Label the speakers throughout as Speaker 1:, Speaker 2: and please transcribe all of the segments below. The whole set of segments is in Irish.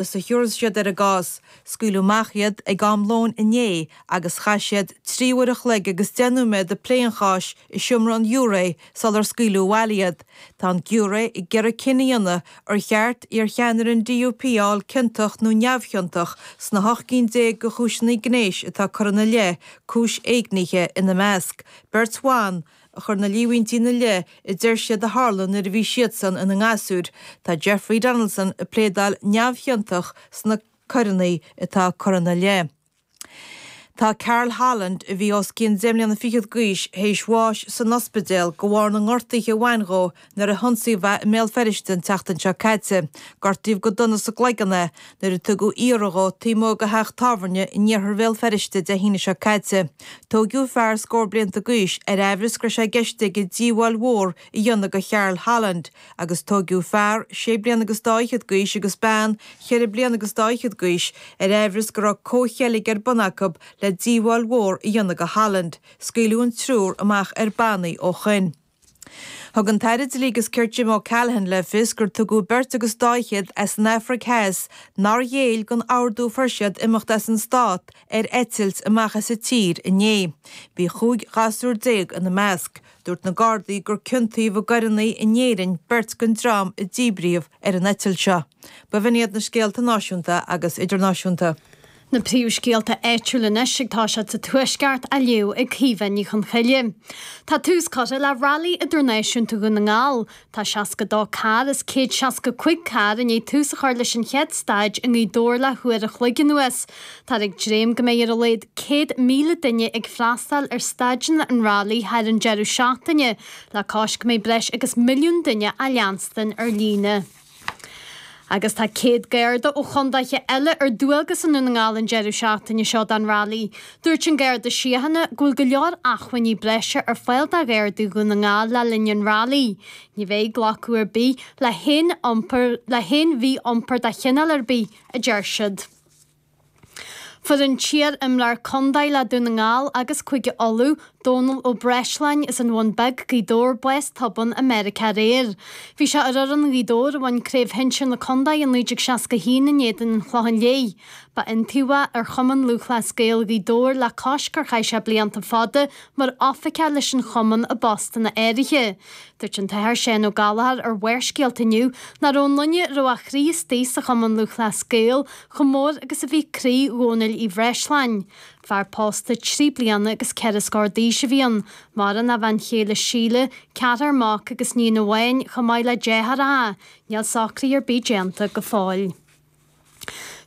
Speaker 1: Is a thiúrfas siad ar an gcás. Scaoileadh amach iad ag am lóin inné agus chaith siad 3 uair a chloig agus 10 nóiméad ag plé an cháis i seomra an ghiúiré sular scaoileadh abhaile iad. Tá an giúiré ag iarraidh cinneadh a dhéanamh ar cheart iarcheannaire an DUP a fháil ciontach nó neamhchiontach sna 18 cinn de chúiseanna gnéis atá curtha ina leith, cúis éignithe ina measc. Beirt bhan a chuir na líomhaintí ina leith a deir siad a tharla nuair a bhí siadsan ina ngasúir. Tá Jeffrey Donaldson ag pléadáil neamhchiontach sna coireanna atá curtha ina leith. Tá Carl Holland, a bhí os cionn deich mbliana fichead d'aois, théis bháis san ospidéal de bharr na ngortuithe a bhain dhó nuair a hionsaíodh é i mBéal Feirste an tseachtain seo caite. Gortaíodh go dona sa gcloigeann é nuair a tugadh iarraidh dhó taobh amuigh de theach tábhairne in iarthar Bhéal Feirste Dé hAoine seo caite. Tóigeadh fear scór blianta d'aois ar aimhreas go raibh sé i gceist aige díobháil mhór a dhéanamh do Charl Holland agus tóigeadh fear sé bliana agus dá fhichead d'aois agus bean cheithre bliana agus dá fhichead d'aois ar aimhreas go raibh comhcheilg ar bun acu le díobháil mhór a dhéanamh do Holland. Scaoileadh an triúr amach ar bannaí ó shoin. Thug an tAire Dlí agus Cirt Jim O'Callaghan le fios gur tugadh beirt agus dá fhichead as an Afraic Theas nár ghéill don ordú a fuair siad imeacht as an stát ar eitilt amach as an tír inné. Bhí 15 ghasúr ina measc. Dúirt na Gardaí gur ciontaíodh i gcoireanna in Éirinn beirt den dream a díbríodh ar an eitilt seo. B'in iad na scéalta náisiúnta agus idirnáisiúnta.
Speaker 2: Na príomhscéalta áitiúla anois ag toiseacht sa Tuaisceart á léamh ag Caoimhe Ní Chonchoille. Tá tús curtha le Railí Idirnáisiúnta Dhún na nGall. Tá 62 carr as 165 carr i ndiaidh tús a chur leis an chéad staid i nGaoth Dobhair le huair a chloig anuas. Táthar ag dréim go mbeidh ar a laghad 100,000 duine ag freastal ar staideanna an railí thar an deireadh seachtaine, le cois go mbeidh breis agus milliún duine á leanstan ar líne. Agus tá 100 Garda ó chondaetha eile ar dualgas i nDún na nGall an deireadh seachtaine seo don Railí. Dúirt an Garda Síochána go bhfuil go leor acmhainní breise ar fáil do Ghardaí Dhún na nGall le linn an Railí. Ní bheidh glacadh ar bith le haon iompar le haon mhí-iompar de chineál ar bith, a deir siad. Fuair an t-iar-imreoir contae le Dún na nGall agus Cúige Uladh, Dónal Ó Breisleáin as an Bhun Beag, Gaoth Dobhair, bás tobann i Meiriceá aréir. Bhí sé ar fhoireann Ghaoth Dobhair a bhain Craobh Shinsir na Contae i 1961 in éadan an Chlocháin Léith. Ba iontaobhaí ar Chumann Lúthchleas Gael Ghaoth Dobhair le cois gur chaith sé blianta fada mar oifigeach leis an chumann i bpostanna áirithe. Dúirt an tAthair Seán Ó Gallchóir ar Bharrscéalta inniu nach raibh aon duine a raibh a chroí istigh sa Chumann Lúthchleas Gael chomh mór agus a bhí croí Dhónaill Uí Bhreisleáin. Fear pósta trí bliana agus ceithre scór d'aois a bhí ann, maireann a bhean chéile Síle, ceathrar mac agus níon amháin, chomh maith le deartháireacha. Níl socruithe ar bith déanta go fóill.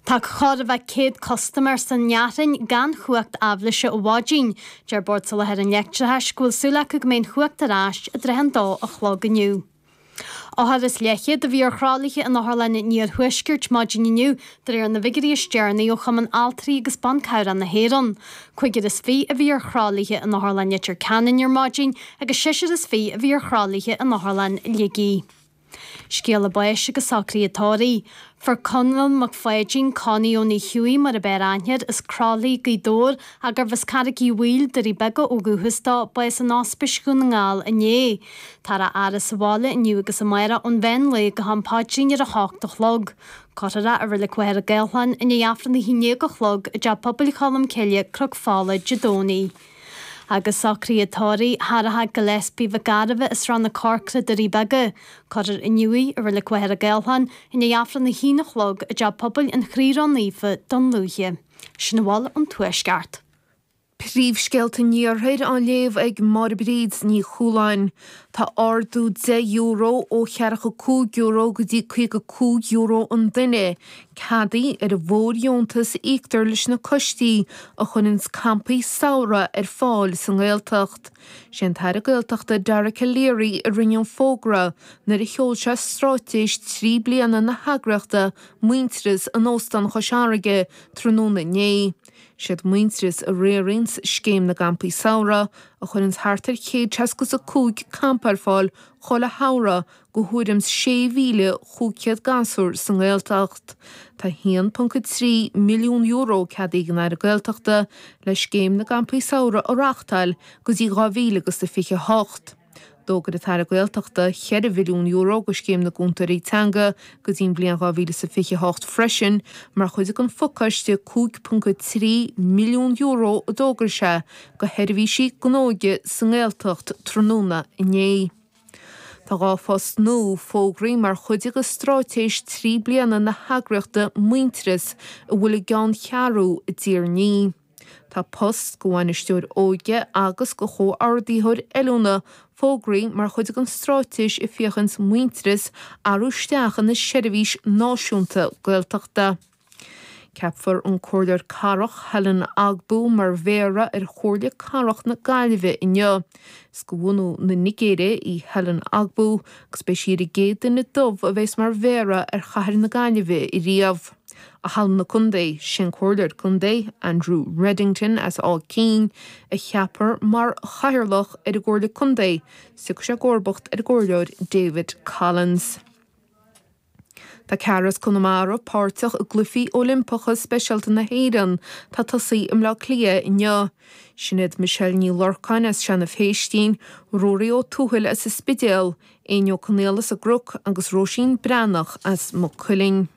Speaker 2: Tá chóir a bheith 100 custaiméir sa nFearthainn gan chumhacht aibhléise ó mhaidin. Deir Bord Soláthair an Leictreachais go bhfuil súil acu go mbeidh an chumhacht ar ais i dtrátha an dó a chlog inniu. Othar is leathchéad a bhí ar thralaithe in Otharlann an Iarthuaiscirt maidin inniu, de réir na bhfigiúirí is deireanaí ó Chumann Altraí agus Ban Cabhrach na hÉireann. 25 a bhí ar thralaithe in Otharlann Leitir Ceanainn ar maidin agus seisear is fiche a bhí ar thralaithe in Otharlann Shligigh. Scéala báis agus socruithe tórraimh. Fuair Conall Mac Pháidín, Connie Ó Hughie mar ab fhearr aithne air, as Croithlí, Gaoth Dobhair, ach gurbh as Carraig Uí Bhaoill, Doirí Beaga ó dhúchas dó, bás in Ospís Dhún na nGall inné. Táthar á fhaire sa bhaile inniu agus amárach ón mheán lae go ham paidrín ar a hocht a chlog. Cuirfear é i Reilig Mhachaire Gathlán i ndiaidh Aifreann a haon déag a chlog i dTeach Pobail Cholm Cille, Cnoc Fola, Dé Domhnaigh. Agus socruithe tórraimh Tharrach Gillespie Mhic Gairbheith as Srath na Corcra, Doirí Beaga. Cuirfear inniu í i Reilig Mhachaire Gathlán i ndiaidh Aifreann a haon a chlog i dTeach Pobail an Chroí Ró-Naofa, Dún Lúiche. Sin a bhfuil ón Tuaisceart.
Speaker 3: Príomhscéalta an Iarthair á léamh ag Máire Bríd Ní Chualáin. Tá ardú €10 ó €45 go dtí €55 an duine ceadaithe ar an bhfóirdheontas a íoctar leis na coistí a chuireanns campaí samhraidh ar fáil sa nGaeltacht. Sé an tAire Gaeltachta Dara Calleary a rinne an fógra nuair a sheol sé stráitéis 3 bliana na heagraíochta Muintearas in Óstán Chois Fharraige tráthnóna inné. Siad Muintearas a riaranns Scéim na gCampaí Samhraidh a chuireanns thart ar 165 campa ar fáil chuile shamhradh go thuairim 6,500 gasúr sa nGaeltacht. Tá €1.3 milliún ceadaithe ag an Aire Gaeltachta le Scéim na gCampaí Samhraidh a reáchtáil go dtí 2028. D'fhógair an tAire Gaeltachta €4 mhilliún do Scéim na gCúntóirí Teanga go dtí an bhliain 2028 freisin mar chuid den phacáiste €5.3 milliún a d'fhógair sé do sheirbhísí don óige sa nGaeltacht tráthnóna inné. Tá 2 phost nua fógraithe mar chuid de straitéis 3 bliana na heagraíochta Muintearas a bhfuil a gceanncheathrú i dTír an Fhia. Tá post do bhainisteoir óige agus do chomhordaitheoir oiliúna fógraithe mar chuid den straitéis ag féachaint Muintearas a athrú isteach ina seirbhís náisiúnta Gaeltachta. Ceapfar an Comhairleoir Cathrach Helen Ogbu mar Mhéara ar Chomhairle Cathrach na Gaillimhe inniu. Is de bhunú na Nigéire í Helen Ogbu agus beidh sí ar an gcéad duine dubh a bheas mar Mhéara ar chathair na Gaillimhe riamh. I Halla na Contae, sé an Comhairleoir Contae, Andrew Reddington as Áth Cinn, a cheapfar mar Chathaoirleach ar an gComhairle Contae, is tiocfaidh sé i gcomharbacht ar an gComhairleoir David Collins. Tá ceathrar as Conamara páirteach i gCluichí Oilimpeacha Speisialta na hÉireann atá ag tosaí i mBleá Cliath inniu. Sin iad Michelle Ní Lorcáin as Seanadh Phéistín, Ruairí Ó Tuathail as an Spidéal, Éinne Ó Conaola as an gCnoc agus Róisín Breathnach as Maigh Cuilinn.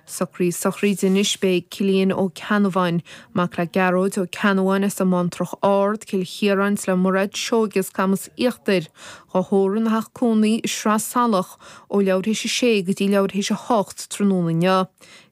Speaker 3: Socruithe sochraide anois Beidh Cillian Ó Ceannabháin, mac le Gearóid Ó Ceannabháin as an mBantrach Ard, Cill Chiaráin 's le Mairéad Seoige as Camas Íochtair, dhá thórramh ina theach cónaí i Sraith Salach ó leathuair théis a sé go dtí leathuair théis a hocht tráthnóna inniu.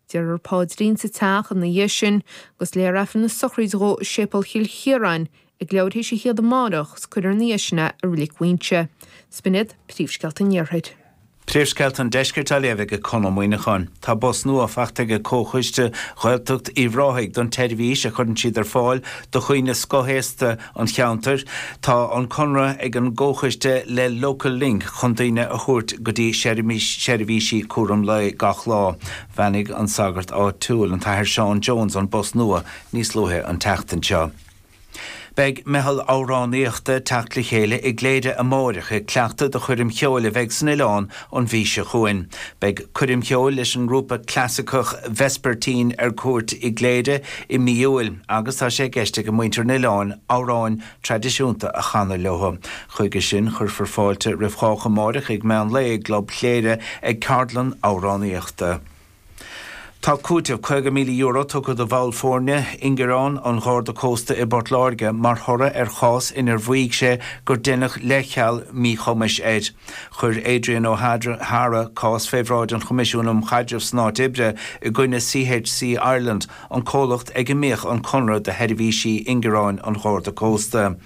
Speaker 3: Déarfar paidrín sa teach ina dhiaidh sin agus léifear Aifreann na sochraide dhó i Séipéal Chill Chiaráin ag leathuair théis a haon amárach 's cuirfear ina dhiaidh sin é i Reilig Mhuighinse. 'S b'in iad príomhscéalta an Iarthair.
Speaker 4: Príomhscéalta an Deiscirt á léamh ag Conn Ó Muíneacháin. Tá bus nua faighte ag Comhchoiste Ghaeltacht Uíbh Ráthaigh don tseirbhís a chuireann siad ar fáil do dhaoine scothaosta an cheantair. Tá an conradh ag an gComhchoiste le Local Link chun daoine a thabhairt go dtí seirbhísí cúram lae gach lá. Bheannaigh an sagart áitiúil, an tAthair Seán Jones, an bus nua níos luaithe an tseachtain seo. Beidh meitheal amhránaíochta ag teacht le chéile i gCléire amáireach ag cleachtadh do choirm cheoil a bheidh san oileán an mhí seo chugainn. Beidh coirm cheoil leis an ngrúpa clasaiceach Vespertine ar cuairt i gCléire i mí Iúil agus tá sé i gceist ag muintir an oileáin amhráin traidisiúnta a chanadh leo. Chuige sin cuirfear fáilte roimh chách amáireach ag meán lae i gClub Chléire ag ceardlann amhránaíochta. Tá cúiteamh €50,000 tugtha do bhall foirne ingearán an Gharda Cósta i bPort Láirge mar thoradh ar chás inar mhaígh sé gur deineadh leithcheal míchumais air. Chuir Adrian O'Hara cás fé bhráid an Choimisiúin um Chaidreamh san Áit Oibre i gcoinne CHC Ireland, an comhlacht ag a mbíodh an conradh do sheirbhísí ingearáin an Gharda Cósta.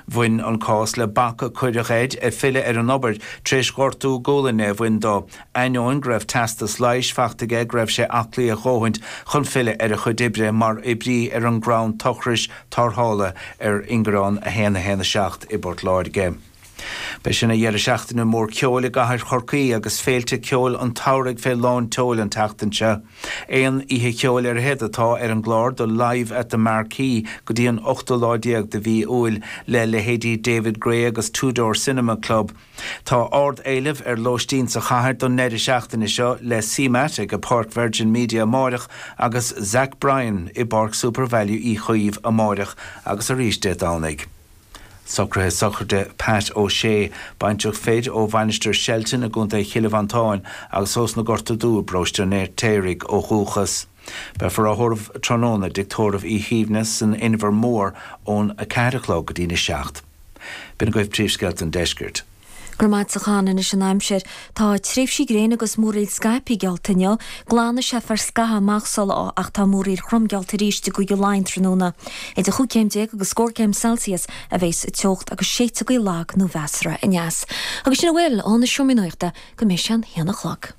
Speaker 4: Bhain an cás le bac a cuireadh air filleadh ar an obair tar éis gortú gualainne a bhain dó. Ainneoin go raibh teastas leighis faighte aige go raibh sé aclaí a dhóthaint chun filleadh ar a chuid oibre mar oibrí ar an gcrann tochrais tarrthála ar Ingearán 1 1 7 i bPort Láirge. Beidh sé ina dheireadh seachtaine mór ceoil i gcathair Chorcaí agus féilte ceoil an tsamhraidh fé lán tseoil an tseachtain seo. Aon oíche cheoil ar fhichead atá ar an gclár do Live at the Marquee go dtí an ochtú lá déag de mhí Iúil le leithéidí David Gray agus Two Door Cinema Club. Tá ard-éileamh ar lóistín sa chathair don ndeireadh seachtaine seo le CMAT ag Páirc Virgin Media amáireach agus Zach Bryan i bPáirc Supervalu Uí Chaoimh amáireach agus arís Dé Domhnaigh. Socruithe sochraide Pat O'Shea, baintreach fir ó Mhainistir Shelton i gContae Chille Mhantáin agus ós na Gorta Dubha i bparóiste an Fheirtéaraigh ó dhúchas. Beifear á thórramh tráthnóna i dTigh Tórraimh Uí Shuibhne san Inbhear Mór ón 4 a chlog go dtí'n 7. B'in agaibh príomhscéalta an deiscirt.
Speaker 5: Go raibh maith agat a Chon. Anois an aimsir. Tá tréimhsí gréine agus múraíl scaipthe geallta inniu. Glanfaidh sé far scaitheamh amach sa lá ach tá múraíl throm geallta arís i gCúige Laighean tráthnóna. Idir chúig chéim déag agus scór céim Celsius a bheas an teocht agus séidfidh gaoth lag nó mheasartha aneas. Agus sin a bhfuil ó na Seomraí Nuachta go mbeidh sé an haon a chlog.